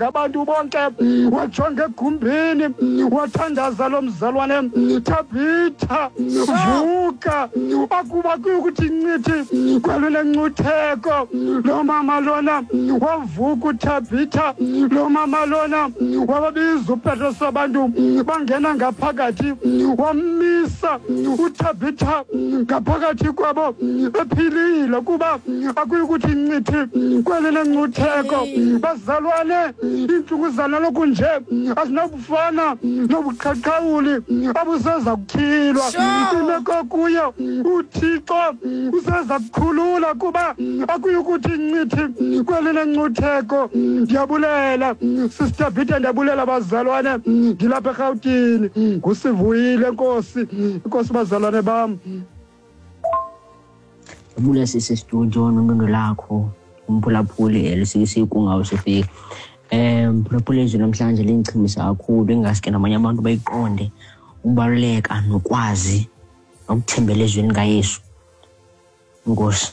Wabondla abantu bonke. Wajonga egumbini, wathandaza lo mzalwane, Thabitha, vuka. Akuba kuyukuthi ncithi kwelo lencutheko, lo mama lona wavuka uThabitha. Lo mama lona wababiza uPetros, abantu bangena ngaphakathi, wammisa uThabitha ngaphakathi kwabo ephilile, kuba akuyukuthi ncithi kweli lencutheko. Bazalwane, iintlungu zanaloku nje azinabufana nobuqhaqhawuli abuseza kutyhilwa. Imeko kuyo uThixo useza kukhulula, kuba akuyukuthi ncithi kweli lencutheko. Ndiyabulela, Sister Peter, ndiyabulela bazalwane. Ndilapha eRhawutini, ngusivuyile. Nkosi, inkosi bazalwane bam. Ndibule sisi studio nontondo lakho, umphulaphuli elusikisikungawo sifika. Mphulaphuli, izwi namhlanje lindichumisa kakhulu, ingaske nabanye abantu bayiqonde ukubaluleka nokwazi nokuthembela ezwini kaYesu. Enkosi.